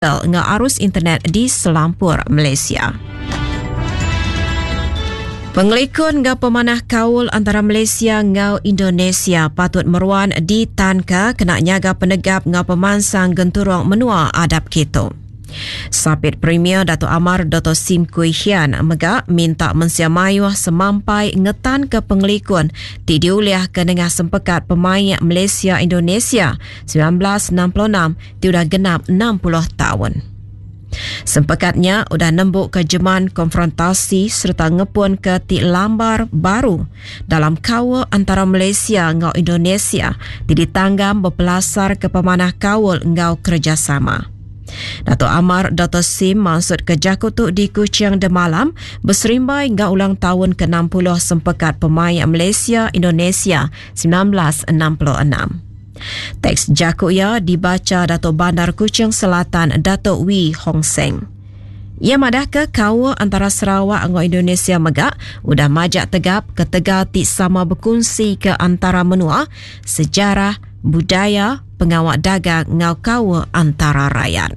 Enggau arus internet di selampur Malaysia. Pengelikun enggau pemanah kaul antara Malaysia enggau Indonesia patut meruan ditanka kena nyaga penegap enggau pemansang genturung menua adap kitu. Sapit Premier Datuk Amar Doktor Sim Kui Hian mega minta mensia mayuh semampai ngetanka pengelikun ti diulihka nengah Sempekat Pemaik Malaysia-Indonesia 1966 ti udah genap 60 taun. Sempekat nya udah nembuka jeman konfrontasi sereta ngepunka ti lambar baru dalam kaul antara Malaysia enggau Indonesia ti ditanggam bepelasarka pemanah kaul enggau kerejasama. Datuk Amar Doktor Sim mansutka jaku tu di Kuching demalam beserimbai enggau ulang taun ke-60 Sempekat Pemaik Malaysia-Indonesia 1966. Teks jaku iya dibacha Datuk Bandar Kuching Selatan Datuk Wee Hong Seng. Iya madahka kaul antara Sarawak enggau Indonesia mega udah majak tegap ketegal ti sama bekunsika antara menua, sejarah, budaya, pengawa dagang enggau kaul antara rayat.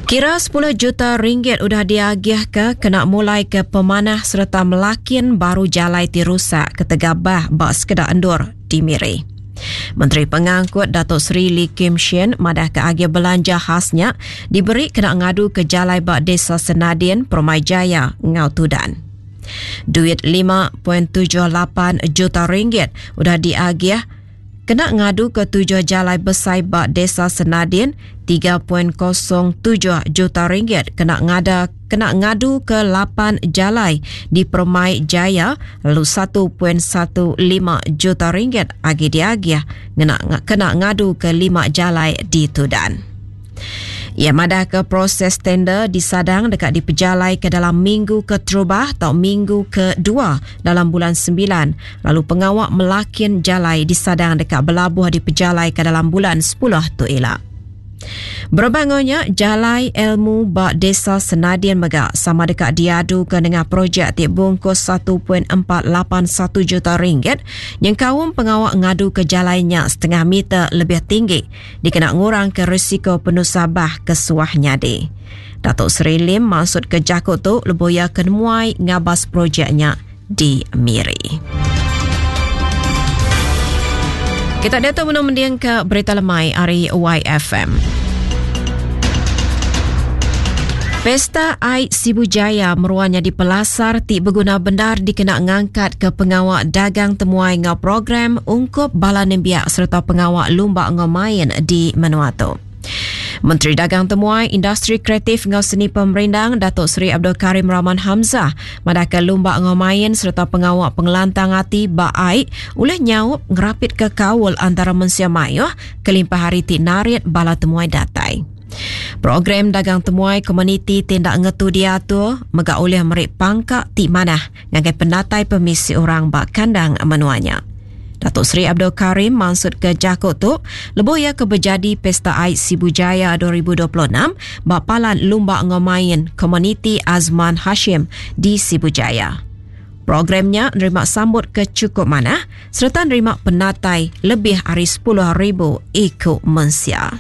Kira sepuluh juta ringgit udah diagihka kena mulaika pemanah sereta melakin baru jalai ti rusak ketegal bah ba sekeda endur di Miri. Menteri Pengangkut Datuk Seri Lee Kim Shin madahka agih belanja khas nya diberi kena ngaduka jalai ba Desa Senadin, Permai Jaya enggau Tudan. Duit 5.78 juta ringgit udah diagih Kena ngaduka tujuh jalai besai ba Desa Senadin, 3.07 juta ringgit kena ngada kena ngaduka lapan jalai di Permai Jaya lalu 1.15 juta ringgit agi diagih ngena kena ngaduka lima jalai di Tudan. Iya madahka proses tender disadang deka dipejalaika dalam minggu keterubah tau minggu kedua dalam bulan Sembilan lalu pengawa melakin jalai disadang deka belabuh dipejalaika dalam bulan Sepuluh tu ila. Berebak enggau nya, jalai ilmu ba Desa Senadin mega sama deka diaduka nengah projek ti bungkus 1.481 juta ringgit nyengkaum pengawa ngaduka jalai nya setengah meter lebih tinggi dikena ngurangka risiko penusah bah ke suah nyadi. Datuk Seri Lim mansutka jaku tu lebuh iya ke nemuai ngabas projek nya di Miri. Kita diatu benung mendingka berita lemai ari YFM. Pesta Ai Sibu Jaya meruan nyadi pelasar ti beguna bendar dikena ngangkatka pengawa dagang temuai enggau program ungkup bala nembiak sereta pengawa lumba enggau main di menua tu. Menteri Dagang Temuai, Industri Kreatif enggau Seni Pemerindang Datuk Seri Abdul Karim Rahman Hamzah madahka lumba enggau main sereta pengawa pengelantang ati ba ai ulih nyaup ngerapitka kaul antara mensia mayuh kelimpah ari ti narit bala temuai datai. Program dagang temuai komuniti ti enda ngetu diatur mega ulih meri pangka ti manah ngagai penatai pemisi orang ba kandang menua nya. Datuk Seri Abdul Karim mansutka jaku tu lebuh iya ke bejadi Pesta Aid Sibu Jaya 2026 ba Palan Lumba enggau Main Komuniti Azman Hashim di Sibu Jaya. Program nya nerima sambut ke chukup manah sereta nerima penatai lebih ari 10,000 iku mensia.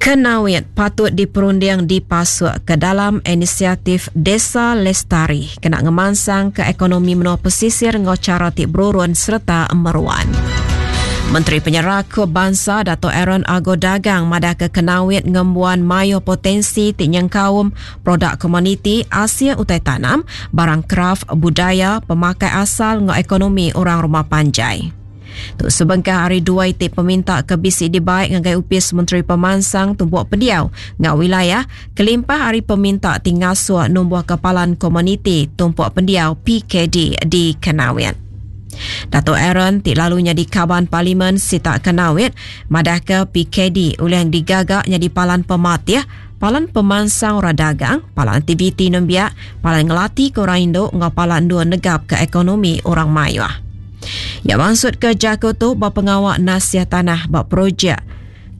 Kenawit patut diperunding dipasuk ke dalam inisiatif Desa Lestari kena ngemansangka ekonomi menua pesisir enggau chara ti berurun sereta meruan. Menteri Penyerakup Bansa Dato Aaron Ago Dagang madahka Kenawit ngembuan mayuh potensi ti nyengkaum produk komuniti, asil utai tanam, barang kraf, budaya, pemakai asal enggau ekonomi orang rumah panjai. Tu sebengkah ari dua iti peminta ke bisi dibai ngagai Opis Menteri Pemansang Tumpuk Pendiau enggau Wilayah kelimpah ari peminta ti ngasuh numbuhka Palan Komuniti Tumpuk Pendiau, PKD, di Kanowit. Datuk Aaron ti lalu nyadi Kaban Parlimen sitak Kanowit madahka PKD ulih digaga nyadi palan pematih, palan pemansang orang dagang, palan aktiviti nembiak, palan ngelatika orang indu enggau palan endur negapka ekonomi orang mayuh. Iya mansutka jaku tu ba pengawa nasih tanah ba projek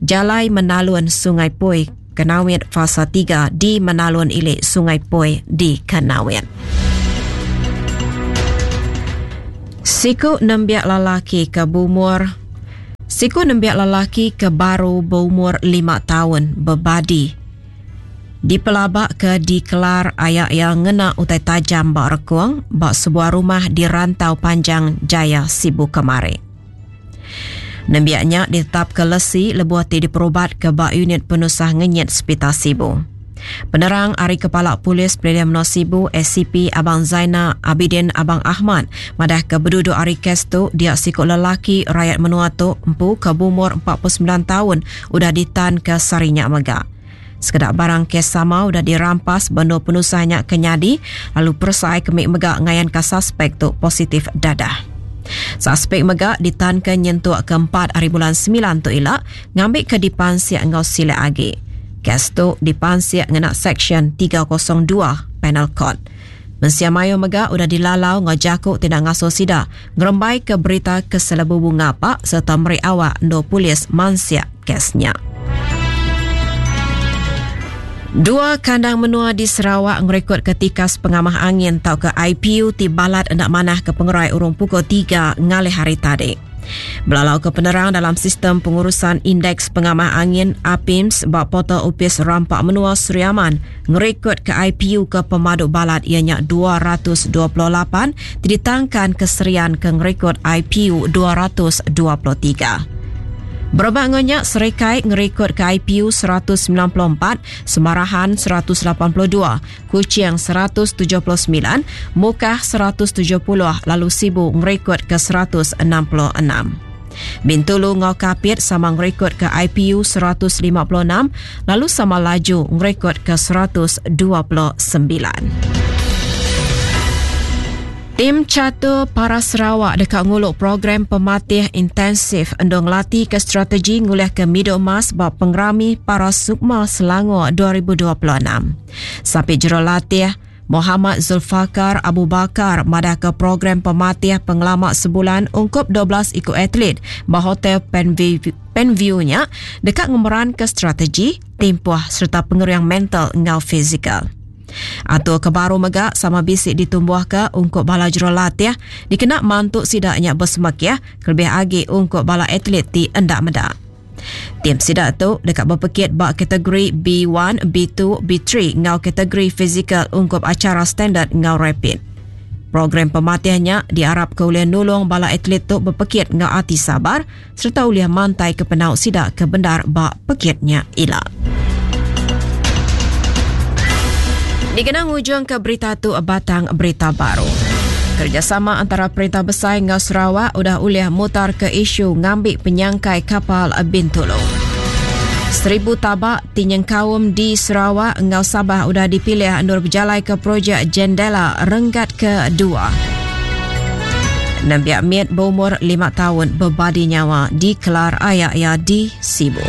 Jalai Menalun Sungai Poi Kanowit Fasa 3 di Menalun Ili Sungai Poi di Kanowit. Siku nembiak lelaki ke beumur. Siku nembiak lelaki ke baru beumur lima taun bebadi dipelabaka dikelar aya iya ngena utai tajam ba rekung ba sebuah rumah di Rantau Panjang Jaya, Sibu kemari. Nembiak nya ditetapka lesi lebuh ti diperubatka ba Unit Penusah Ngenyit Sepital Sibu. Penerang ari Kepala Polis Pelilih Menua Sibu SCP Abang Zaina Abidin Abang Ahmad madahka beduduk ari kes tu dia siku lelaki rayat menua tu empu ke beumur 49 taun udah ditanka sehari nya mega. Sekeda barang kes sama udah dirampas ba endur penusah nya ke nyadi lalu peresa ai kemi mega ngayanka saspek tu positif dadah. Saspek mega ditanka nyentuk ke empat ari bulan semilan tu ila ngambika dipansik enggau silik agi. Kes tu dipansik ngena Seksyen 302 Penal Code. Mensia mayuh mega udah dilalau enggau jaku ti enda ngasuh sida ngerembaika berita ke selebubu ngapa sereta meri awak endur polis mansik kes nya. Dua kandang menua di Sarawak ngerekodka tikas pengamah angin tauka IPU ti balat enda manah ke pengerai urung pukul tiga ngalih hari tadi. Belalauka penerang dalam Sistem Pengurusan Indeks Pengamah Angin, APIMS, ba portal Opis Rampa Menua Sri Aman ngerekodka IPU ke pemadu balat iya nya 228 ti ditangkan ke Serian ke ngerekod IPU 223. Berebak enggau nya, Serikai ngerekodka IPU 194, Semarahan 182, Kuching 179, Mukah 170 lalu Sibu ngerekodka 166. Bintulu enggau Kapit sama ngerekodka IPU 156 lalu sama laju ngerekodka 129. Tim Catur Para Sarawak deka ngulu program pematih intensif endur ngelatihka strategi ngulihka midul emas ba Pengerami Para Sukma Selangor 2026. Sapit Jurulatih, Mohamad Zulfakar Abu Bakar madahka program pematih pengelama sebulan ungkup 12 iku atlet ba Hotel Penview nya deka ngemeranka strategi, timpuh sereta pengering mental enggau fizikal. Atur ke baru mega sama bisi ditumbuhka ungkup bala jurulatih dikena mantu sida nya besemekih kelebih agi ungkup bala atlet ti enda meda. Tim sida tu deka bepekit ba kategori B1, B2, B3 enggau kategori fizikal ungkup achara standard enggau rapid. Program pematih nya diarapka ulih nulung bala atlet tu bepekit enggau ati sabar sereta ulih mantaika penau sida ke bendar ba pekit nya ila. Dikena ngujungka berita tu batang berita baru. Kerjasama antara Perintah Besai enggau Sarawak udah ulih mutarka isu ngambi penyangkai kapal Bintulu. Seribu tabak ti nyengkaum di Sarawak enggau Sabah udah dipilih endur bejalaika projek Jendela renggat kedua. Nembiak mit beumur lima taun bebadi nyawa dikelar aya iya di Sibu.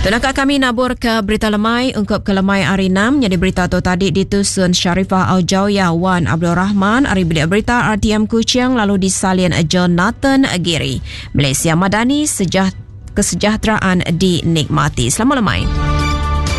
Tenaka kami nabur ke berita lemai ungkup ke lemai hari 6 nyadi berita tu tadi ditusun Sharifah Aljawiyah Wan Abdul Rahman ari bilik berita RTM Kuching lalu disalin Jonathan Giri. Malaysia Madani sejah kesejahteraan dinikmati. Selamat lemai.